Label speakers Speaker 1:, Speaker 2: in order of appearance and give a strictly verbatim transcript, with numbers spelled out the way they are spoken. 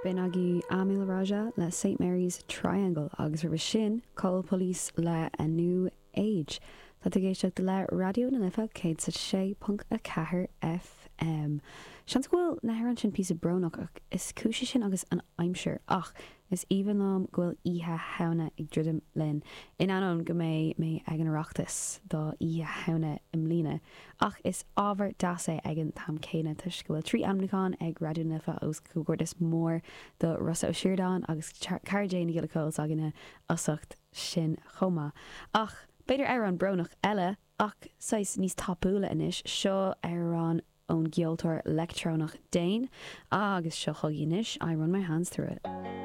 Speaker 1: B'in agaibh Amil Raja le Saint Mary's Triangle agus roimhe sin Cole Police le A New Age. Tá tú ag éisteacht le Raidió na Life céad is a sé ponc a ceathair FM. Seans go bhfuil na hamhráin sin píosa brónach ach is cúis é sin agus an aimsir ach is aoibhinn liom go bhfuil Oíche Shamhna ag druidim linn, in ainneoin go mbeidh mé ag an Oireachtas do Oíche Shamhna i mbliana. Ach is ábhar deas é ag an t-am céanna toisc go bhfuil trí ainmniúchán ag Raidió na Life agus comhghairdeas mór do Rossa Ó Síordáin agus cara Dé na Giolla Cóil s'againne as ucht sin chomh maith. Ach b'fhéidir amhrán brónach eile ach saghas níos tapúla anois, seo amhrán ón gceoltóir leictreonach Dane agus seo chugaibh anois I Run My Hands Through It.